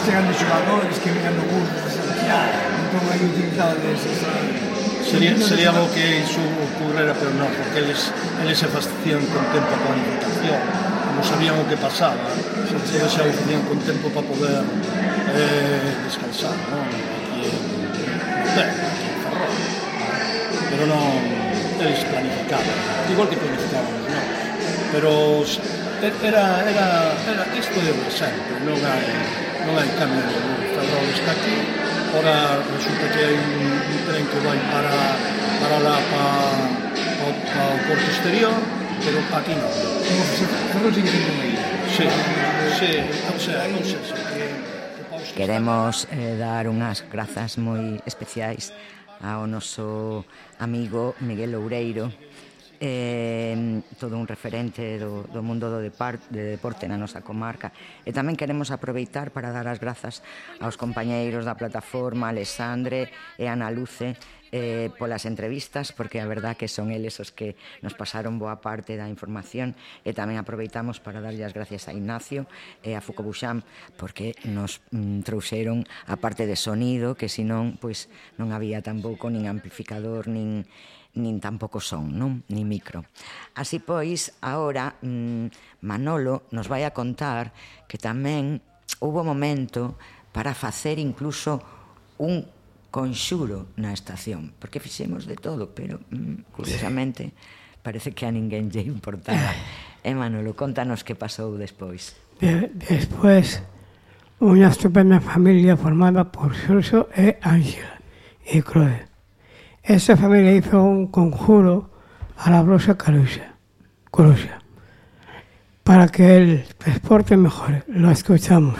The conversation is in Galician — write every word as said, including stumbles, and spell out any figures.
chegan de xogadores que venían no bus de Santiago, entón aí utilizado deses, Sería, sería bo que iso ocurrera, pero non, porque eles, eles se facían con tempo a planificación, como sabían o que pasaba, eles xa o facían con tempo para poder eh, descansar, non? Aquí en Montero, aquí en Ferrol. Pero non, eles planificaban, igual que planificaban os novos. Pero era, era, era isto de sempre, non hai, non hai cambio nenhum. Ferrol está aquí, ora resulta que hai un, un tren que vai para, para lá, para, para, para o porto exterior, pero aquí non. Ferrol sigue sendo unha illa. Sí, sí, o sea, non sei se que... Queremos eh, dar unhas grazas moi especiais ao noso amigo Miguel Loureiro, eh, todo un referente do, do mundo do depar, de deporte na nosa comarca, e tamén queremos aproveitar para dar as grazas aos compañeiros da plataforma, Alexandre e Ana Luce, eh, polas entrevistas, porque a verdad que son eles os que nos pasaron boa parte da información, e tamén aproveitamos para darlle as gracias a Ignacio e a Fuco Buxam, porque nos mm, trouxeron a parte de sonido, que senón pois non había tampouco nin amplificador, nin nin tampouco son, non? Nin micro. Así pois, agora mmm, Manolo nos vai a contar que tamén houve momento para facer incluso un conxuro na estación, porque fixemos de todo, pero mmm, curiosamente parece que a ninguén lle importaba. E Manolo, contanos que pasou despois. De, despois, unha estupenda familia formada por Xurxo e Ángela e Croe. Esa familia hizo un conjuro a la brosa Caruxa, Coruxa, para que el transporte mejore. Lo escuchamos.